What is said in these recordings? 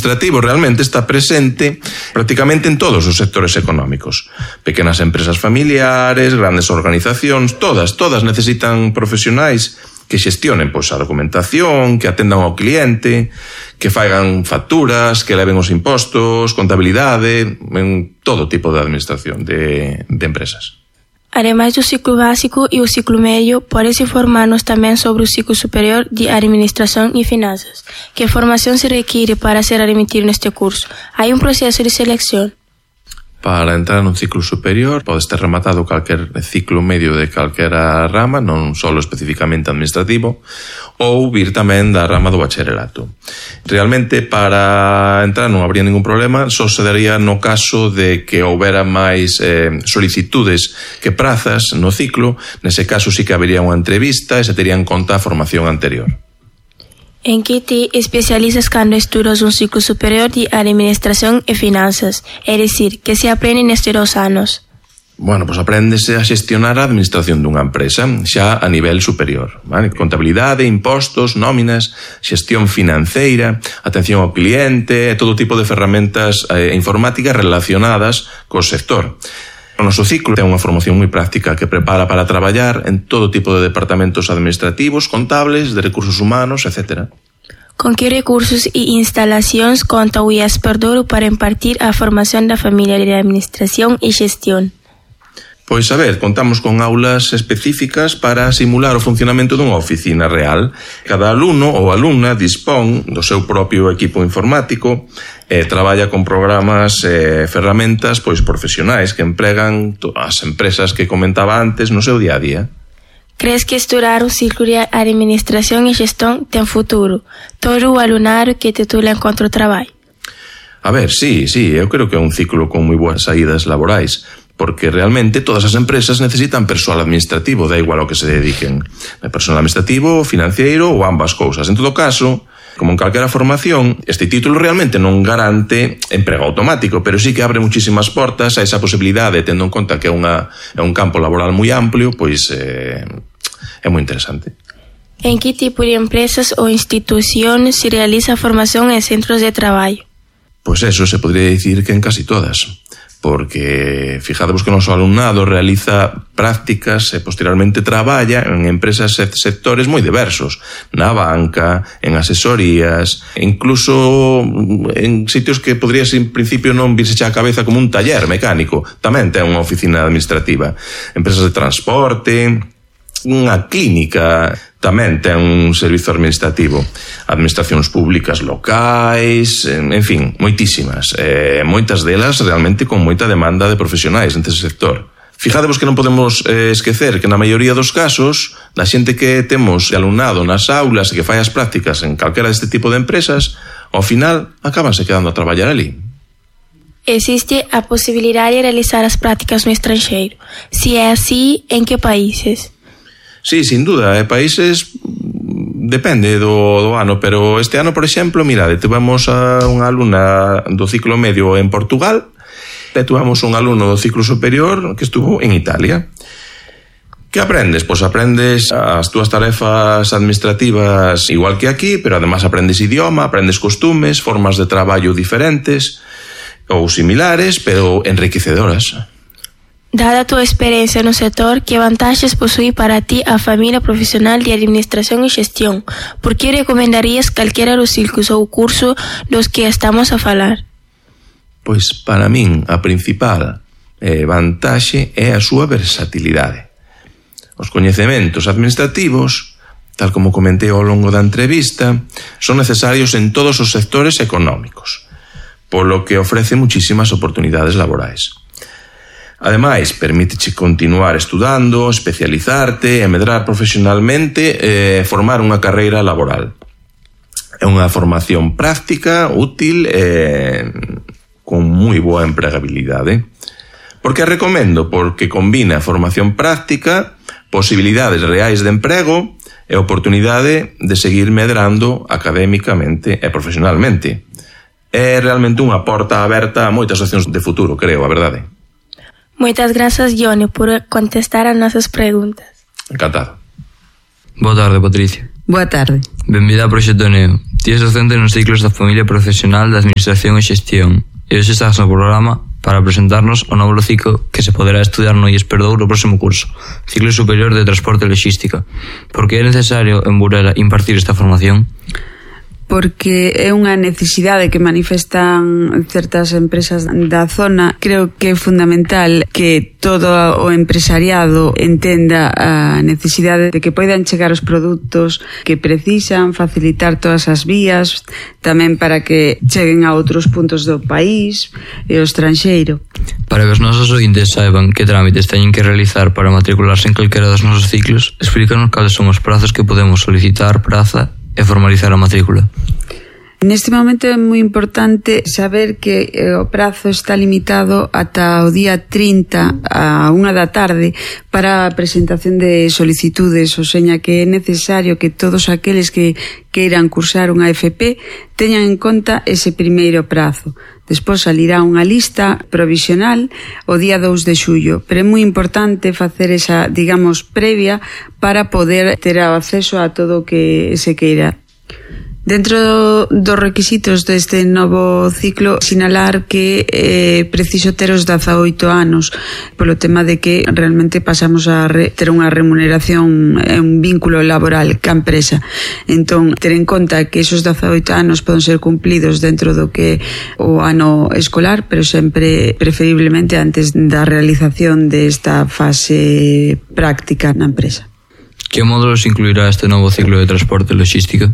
administrativo realmente está presente prácticamente en todos os sectores económicos. Pequenas empresas familiares, grandes organizacións, todas necesitan profesionais que xestionen a documentación, que atendan ao cliente, que faigan facturas, que leven os impostos, contabilidade, en todo tipo de administración de empresas. Ademais do ciclo básico e o ciclo medio, podes informarnos tamén sobre o ciclo superior de Administración e Finanzas. Que formación se requiere para ser admitido neste curso? Hai un proceso de selección? Para entrar nun ciclo superior podes ter rematado calquer ciclo medio de calquera rama, non só especificamente administrativo, ou vir tamén da rama do bacharelato. Realmente, para entrar non habría ningún problema, só se daría no caso de que houbera máis solicitudes que prazas no ciclo. Nese caso sí que habería unha entrevista e se tería en conta a formación anterior. En que te especializas cando estudas un ciclo superior de Administración e Finanzas? É dicir, que se aprende nestes 2 anos? Bueno, apréndese a xestionar a administración dunha empresa xa a nivel superior, vale? Contabilidade, impostos, nóminas, xestión financeira, atención ao cliente, todo tipo de ferramentas informáticas relacionadas co sector. O noso ciclo ten unha formación moi práctica que prepara para traballar en todo tipo de departamentos administrativos, contables, de recursos humanos, etc. Con que recursos e instalacións conta o IES Perdouro para impartir a formación da familia de administración e xestión? Pois, contamos con aulas específicas para simular o funcionamento dunha oficina real. Cada alumno ou alumna dispón do seu propio equipo informático e traballa con programas e ferramentas profesionais que empregan as empresas que comentaba antes no seu día a día. Crees que estudar o ciclo de Administración e Xestión ten futuro? Todo o alumnado que titula encontra traballo? Sí, eu creo que é un ciclo con moi boas saídas laborais, porque realmente todas as empresas necesitan persoal administrativo, da igual ao que se dediquen. Persoal administrativo, financiero ou ambas cousas. En todo caso, como en calquera formación, este título realmente non garante emprego automático, pero sí que abre muchísimas portas a esa posibilidade, tendo en conta que é un campo laboral moi amplio, é moi interesante. En que tipo de empresas ou institucións se realiza a formación en centros de traballo? Pois eso se podría dicir que en casi todas, porque fijadevos que o noso alumnado realiza prácticas e posteriormente traballa en empresas e sectores moi diversos, na banca, en asesorías, incluso en sitios que podrías en principio non virse xa a cabeza como un taller mecánico, tamén ten unha oficina administrativa, empresas de transporte, unha clínica tamén ten un servizo administrativo, administracións públicas locais, en fin, moitísimas, moitas delas realmente con moita demanda de profesionais neste sector. Fijadevos que non podemos esquecer que na maioría dos casos da xente que temos de alumnado nas aulas e que fai as prácticas en calquera deste tipo de empresas, ao final acabanse quedando a traballar ali. Existe a posibilidade de realizar as prácticas no estranxeiro. Se é así, en que países? Sí, sin duda, países depende do ano, pero este ano, por exemplo, mirade, tivemos a unha alumna do ciclo medio en Portugal e tivemos un alumno do ciclo superior que estuvo en Italia. Que aprendes? Pois aprendes as túas tarefas administrativas igual que aquí, pero además aprendes idioma, aprendes costumes, formas de traballo diferentes ou similares, pero enriquecedoras. Dada a tua experiencia no sector, que vantaxes posúe para ti a familia profesional de Administración e Xestión? Por que recomendarías calquera dos ciclos ou curso dos que estamos a falar? Pois para min a principal vantaxe é a súa versatilidade. Os coñecementos administrativos, tal como comentei ao longo da entrevista, son necesarios en todos os sectores económicos, polo que ofrece muchísimas oportunidades laborais. Ademais, permíteche continuar estudando, especializarte e medrar profesionalmente e formar unha carreira laboral. É unha formación práctica, útil e con moi boa empregabilidade. Por que a recomendo? Porque combina formación práctica, posibilidades reais de emprego e oportunidade de seguir medrando académicamente e profesionalmente. É realmente unha porta aberta a moitas opcións de futuro, creo, a verdade. Moitas grazas, Johnny, por contestar as nosas preguntas. Encantado. Boa tarde, Patricia. Boa tarde. Benvida ao Proxecto Neo. Ti és docente nos ciclos da familia profesional de Administración e Xestión e hoxe estás no programa para presentarnos o novo ciclo que se poderá estudiar no IES Perdouro no próximo curso, Ciclo Superior de Transporte e Logística. Por que é necesario en Burela impartir esta formación? Porque é unha necesidade que manifestan certas empresas da zona. Creo que é fundamental que todo o empresariado entenda a necesidade de que poidan chegar os produtos que precisan, facilitar todas as vías, tamén para que cheguen a outros puntos do país e ao estranxeiro. Para que os nosos ointes saiban que trámites teñen que realizar para matricularse en calquera dos nosos ciclos, explícanos cales son os prazos que podemos solicitar praza e formalizar a matrícula. Neste momento é moi importante saber que o prazo está limitado ata o día 30 a 1 da tarde para a presentación de solicitudes, o seña que é necesario que todos aqueles que queiran cursar unha FP teñan en conta ese primeiro prazo. Despois salirá unha lista provisional o día 2 de xullo, pero é moi importante facer esa, digamos, previa para poder ter acceso a todo o que se queira. Dentro dos requisitos deste novo ciclo, sinalar que é preciso ter os 18 anos polo tema de que realmente pasamos a ter unha remuneración e un vínculo laboral ca empresa. Entón, ter en conta que esos 18 anos poden ser cumplidos dentro do que o ano escolar, pero sempre preferiblemente antes da realización desta fase práctica na empresa. Que módulos incluirá este novo ciclo de transporte e logística?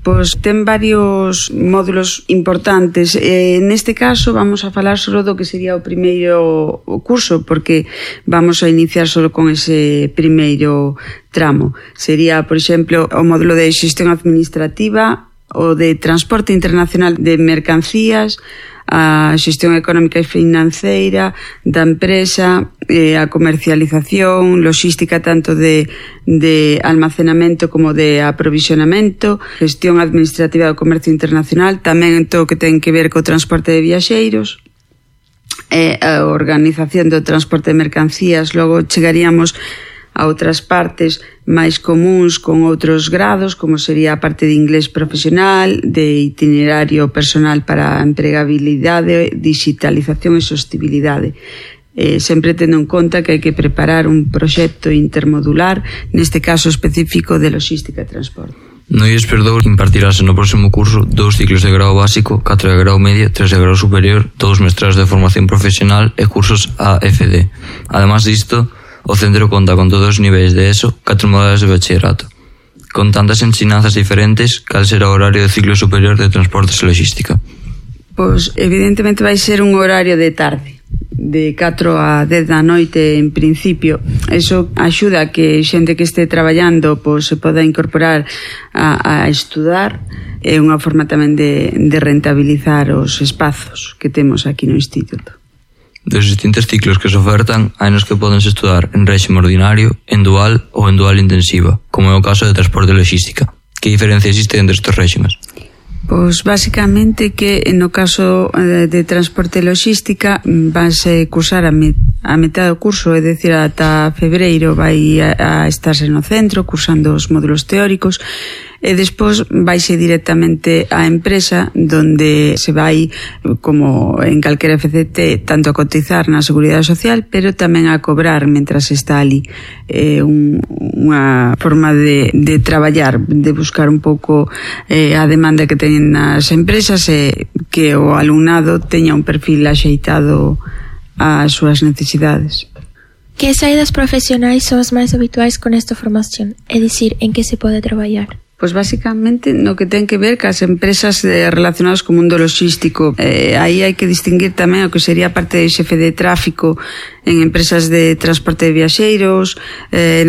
Pois ten varios módulos importantes. Neste caso vamos a falar só do que sería o primeiro curso, porque vamos a iniciar só con ese primeiro tramo. Sería, por exemplo, o módulo de xestión administrativa, o de transporte internacional de mercancías, a xestión económica e financeira da empresa, a comercialización, logística tanto de almacenamento como de aprovisionamento, gestión administrativa do comercio internacional, tamén todo o que ten que ver co transporte de viaxeiros, a organización do transporte de mercancías. Logo chegaríamos a outras partes máis comúns con outros grados, como sería a parte de inglés profesional, de itinerario personal para a empregabilidade, digitalización e sostibilidade. Sempre tendo en conta que hai que preparar un proxecto intermodular, neste caso específico de logística e transporte. No IES Perdouro impartirase no próximo curso 2 ciclos de grau básico, 4 de grau medio, 3 de grau superior, 2 mestrados de formación profesional e cursos AFD. Además disto, o centro conta con todos os niveis de ESO, 4 modalidades de bachillerato. Con tantas ensinanzas diferentes, cal será o horario do ciclo superior de transportes e logística? Pois evidentemente vai ser un horario de tarde, de 4 a 10 da noite en principio. Eso axuda a que xente que este traballando pois se poda incorporar a estudar. É unha forma tamén de rentabilizar os espazos que temos aquí no Instituto. Dos distintos ciclos que se ofertan, hai nos que podense estudar en réxime ordinario, en dual ou en dual intensiva, como é o caso de transporte e logística. Que diferencia existe entre estes réximes? Pois basicamente que no caso de transporte e logística vanse cursar a metade do curso, é dicir, ata febreiro vai a estarse no centro cursando os módulos teóricos, e despois vaise directamente á empresa, donde se vai, como en calquera FCT, tanto a cotizar na Seguridade Social, pero tamén a cobrar mentras está ali. É unha forma de traballar, de buscar un pouco a demanda que teñen as empresas e que o alumnado teña un perfil axeitado ás súas necesidades. Que saídas profesionais son as máis habituais con esta formación? É dicir, en que se pode traballar? Pois basicamente no que ten que ver cas empresas relacionadas co mundo logístico. Aí hai que distinguir tamén o que sería a parte de xefe de tráfico en empresas de transporte de viaxeiros,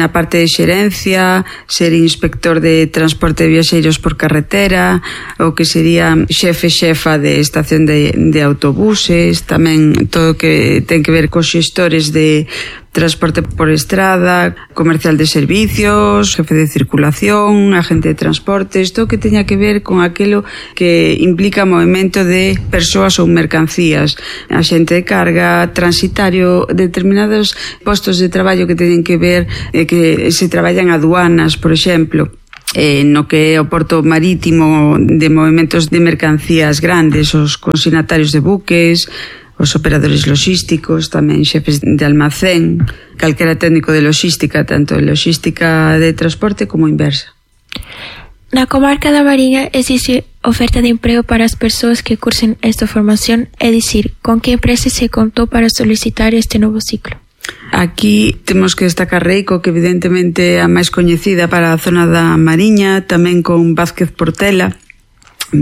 na parte de xerencia, ser inspector de transporte de viaxeiros por carretera, o que sería xefa de estación de autobuses, tamén todo o que ten que ver cos xestores de transporte por estrada, comercial de servicios, jefe de circulación, agente de transportes, todo que teña que ver con aquilo que implica movimento de persoas ou mercancías, agente de carga, transitario, determinados postos de traballo que teñen que ver que se traballan aduanas, por exemplo. no que é o porto marítimo de movimentos de mercancías grandes, os consignatarios de buques, os operadores logísticos, tamén xefes de almacén, calquera técnico de logística, tanto de logística de transporte como inversa. Na comarca da Mariña existe oferta de emprego para as persoas que cursen esta formación, é dicir, con que empresa se contou para solicitar este novo ciclo? Aquí temos que destacar Reico, que evidentemente é a máis coñecida para a zona da Mariña, tamén con Vázquez Portela,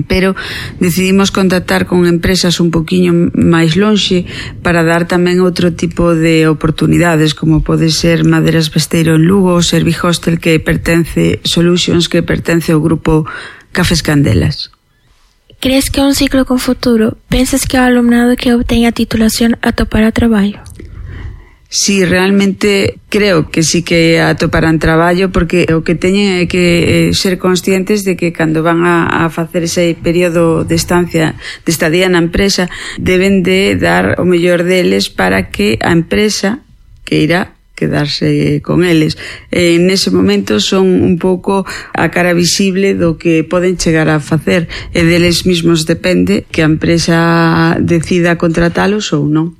pero decidimos contactar con empresas un poquinho máis lonxe para dar tamén outro tipo de oportunidades, como pode ser Maderas Besteiro en Lugo, Servihostel, que pertence Solutions, que pertence ao grupo Cafés Candelas. Crees que é un ciclo con futuro? Pensas que o alumnado que obteña a titulación atopará traballo? Sí, realmente creo que sí que atoparán traballo, porque o que teñen é que ser conscientes de que cando van a facer ese período de estancia, de estadía na empresa, deben de dar o mellor deles para que a empresa que irá quedarse con eles. Nese momento son un pouco a cara visible do que poden chegar a facer, e deles mismos depende que a empresa decida contratalos ou non.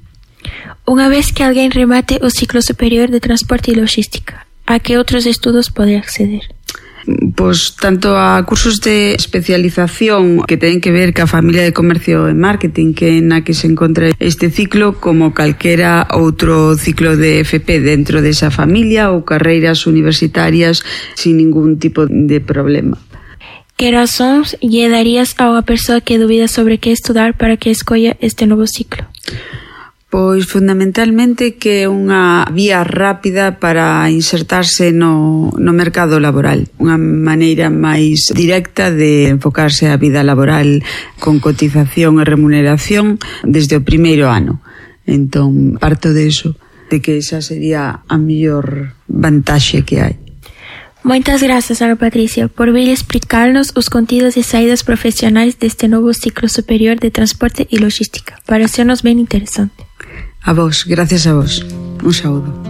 Unha vez que alguén remate o ciclo superior de transporte e logística, a que outros estudos pode acceder? Pois tanto a cursos de especialización que ten que ver ca familia de comercio e marketing, que na que se encontra este ciclo, como calquera outro ciclo de FP dentro desa familia, ou carreiras universitarias sin ningún tipo de problema. Que razóns lle darías a unha persoa que dubida sobre que estudar para que escolla este novo ciclo? Pois fundamentalmente que é unha vía rápida para insertarse no mercado laboral, unha maneira máis directa de enfocarse a vida laboral con cotización e remuneración desde o primeiro ano. Entón, parto de eso, de que esa sería a mellor vantaxe que hai. Moitas grazas, Ana Patricia, por vir explicarnos os contidos e saídas profesionais deste novo ciclo superior de transporte e logística. Parecernos ben interesante. A vos, gracias a vos. Un saúdo.